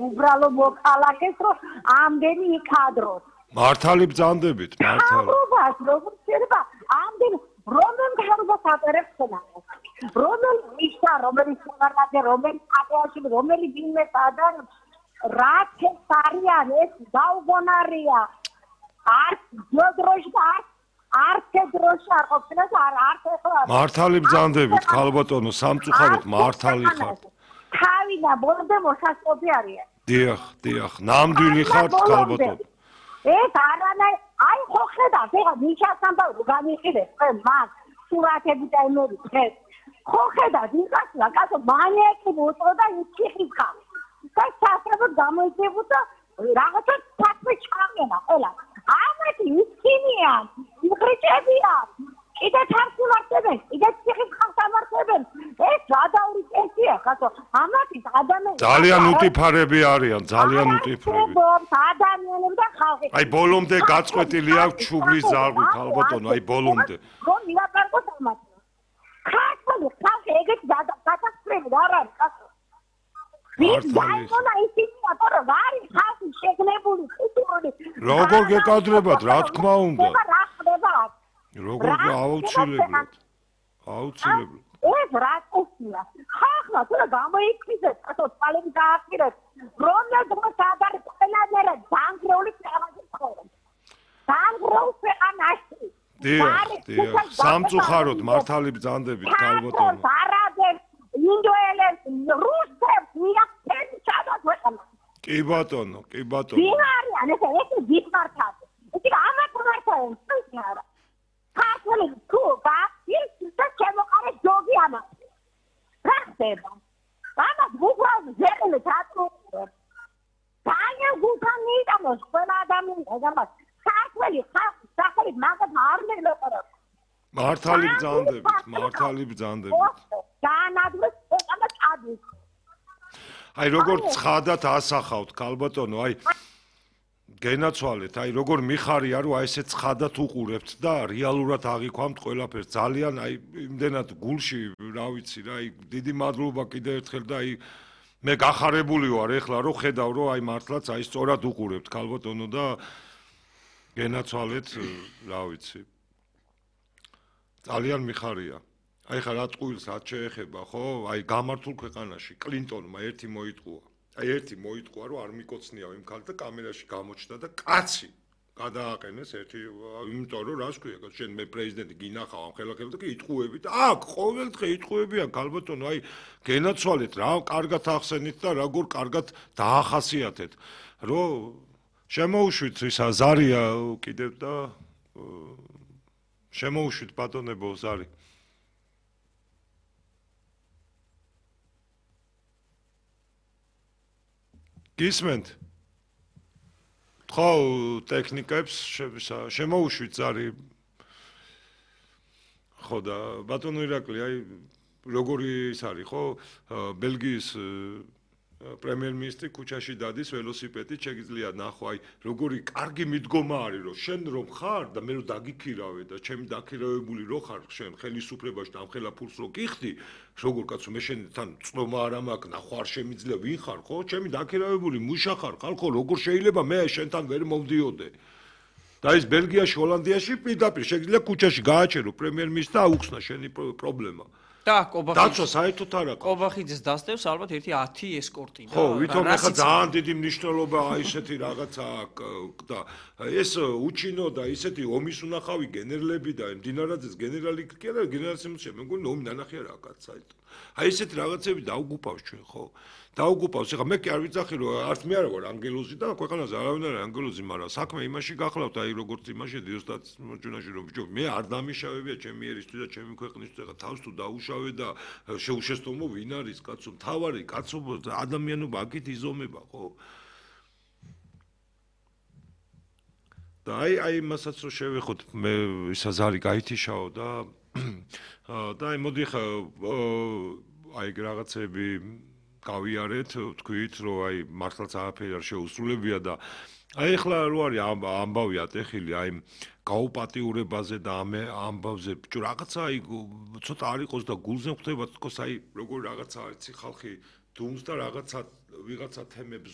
უბრალო მოქალაქეს რომ ამდენი იქადროს. მართალი ბრძანდებით, მართალი. მთავრობას როგორ შეიძლება ამდენი რომელ მთავრობას ატარებს ხნავს? რომელ მისცა, რომელიც საგარდე, რომელი ატეაში, რომელი ბინმეს ადარებს, რაც ეს არიან, ეს დაუგონარია. არც დროში არც დროში არ ყოფილას არც ეხლა. მართალი ბრძანდებით, ქალბატონო, სამწუხაროდ მართალი ხართ. თავინა ბოლომდე მოსასწრაფი არიან. დიახ, ნამდვილი ხართ, ქალბატონო. ეს არანაირ აი ხო ხედავთ ეხლა მიშასამბა განიხილეთ თქვენ მაგ სურათები და იმები დღეს ხო ხედავთ იქასლა კაცო მანიაკი მოწოდა იქიხის ხარ და სასწრაფოდ გამოიწებუთ და რაღაცა ფაქტი ჩამენა ყველა ამეთი ისინიან იხრიჭებიან კიდე თარგმნებენ კიდე ციხის ხარს ამართებენ ეს გადაური წესია კაცო ამათი ადამიანები ძალიან უტიფარები არიან ძალიან უტიფარები ადამიანები და ხალხი აი ბოლომდე გაწყვეტილი აქვს ჩუბლის ზარღვი ქალბატონო აი ბოლომდე რომ მილაპარაკოთ ამათი ხალხი ეგეთ გადასწრები არ არის კაცო ვის დაიმონა ისინია რომ არის ხალხი შეგნებული კულტურული როგორ გეკადრებათ რა თქმა უნდა რა ხდება როგორ აუცილებლად ეს რა წესია ხახლა თუ გამოიქცეთ ასე თვალები გააყირეთ რომელ დროს ადარ ყველანაირად დანგრეული ქვეყანაში ცხოვრობ დანგრეულ ქვეყანაში დიახ სამწუხაროდ მართალი ბრძანდებით ქალბატონო არაბებს ინდოელებს რუსებს მიაქცენ ჩადოთ ქვეყანა კი ბატონო ვინ არიან ეს გითმართათ ეს ამათ მართიან არა ქართული თუ და შემოყარე ჯოგი ამას რა ხდება ამას გუგლავ ზეყელი თატროა ძალიან გულთან მიიტანოს ყველა ადამიანს ამას ქართული ხალხი სახელი მაგათ არ მელაპარაკ მართალი ბრძანდებით განადვეს ქვეყანა წადის აი როგორ ცხადად ასახავთ ქალბატონო აი გენაცვალეთ აი როგორ მიხარია რომ აი ესე ცხადად უყურებთ და რეალურად აღიქვამთ ყველაფერს ძალიან აი იმდენად გულში რა ვიცი რა აი დიდი მადლობა კიდევ ერთხელ და აი მე გახარებული ვარ ეხლა რომ ხედავ რომ აი მართლაც აი სწორად უყურებთ ქალბატონო და გენაცვალეთ რა ვიცი ძალიან მიხარია აი ხა რა ტყუილს რაც შეეხება ხო აი გამართულ ქვეყანაში კლინტონმა ერთი მოიტყუა აი ერთი მოიტყვა რომ არ მიკოცნიაო იმ ქალს და კამერაში გამოჩნდა და კაცი გადააყენეს ერთი იმიტომ რომ რას ქვია შენ მე პრეზიდენტი გინახავ ამ ხელახელს და კი იტყუები და აქ ყოველდღე იტყუებიან ქალბატონო აი გენაცვალეთ რა კარგად ახსენით და როგორ კარგად დაახასიათეთ რომ შემოუშვით ისა ზარია კიდევ და შემოუშვით ბატონებო ზარი გისმენთ ხო ტექნიკებს შემოუშვით ზარი ხო და ბატონო ირაკლი აი როგორი ის არის ხო ბელგიის პრემიერ-მინისტრი ქუჩაში დადის ველოსიპედით შეგიძლია ნახო აი როგორი კარგი მიდგომა არის რომ შენ რომ ხარ და მე რომ დაგიქირავე და ჩემი დაქირავებული რო ხარ შენ ხელისუფლებაში და ამ ხელა ფულს რო გიხდი როგორ კაცო მე შენთან წნომა არ მაქვს ნახო არ შემიძლია ვინ ხარ ხო ჩემი დაქირავებული მუშა ხარ ხალხო როგორ შეიძლება მე შენთან ვერ მოვდიოდე და ის ბელგიაში ჰოლანდიაში პირდაპირ შეგიძლია ქუჩაში გააჩერო პრემიერ-მინისტრს და აუხსნა შენი პრობლემა და კობახიძე დაცვა საერთოდ არ აქვს კობახიძეს დასდევს ალბათ ერთი 10 ესკორტი და ხო ვითომ ახლა ძალიან დიდი მნიშვნელობა აი ესეთი რაღაცა აქვს და ეს უჩინო და ისეთი ომის უნახავი გენერლები და მდინარაძეს გენერალი კი არა გენერალს მე მგონი ომი ნანახი არა კაც საერთოდ აი ესეთი რაღაცები დაუგუპავს ჩვენ ხო დაუგუპავს ეხლა მე კი არ ვიცახი რომ არც მე არ ვარ ანგელოზი და ქვეყანაზე არავინ არ არის ანგელოზი მაგრამ საქმე იმაში გახლავთ აი როგორც იმაში დიოსტატ მოჭუნაში რომ ბიჭო მე არ დამიშავებია ჩემი ერისთვის და ჩემი ქვეყნისთვის ეხლა თავს თუ დაუშავე და შეუშესტომო ვინ არის კაცო მთავარი კაცობა ადამიანობა აქეთ იზომება ხო და აი მასაც რომ შევეხოთ მე ისა ზარი გაითიშაო და აი მოდი ხა აი რაღაცები გავიარეთ თქვით რომ აი მართლაც არაფერი არ შეუსრულებია და აი ახლა რო არის ამბავი ატეხილი აი გაუპატიურებაზე და ამ ამბავზე ბიჭო რაღაცა აი ცოტა არ იყოს და გულზე ხვდება თქოს აი როგორ რაღაცა არის ხალხი დუმს და რაღაცა ვიღაცა თემებს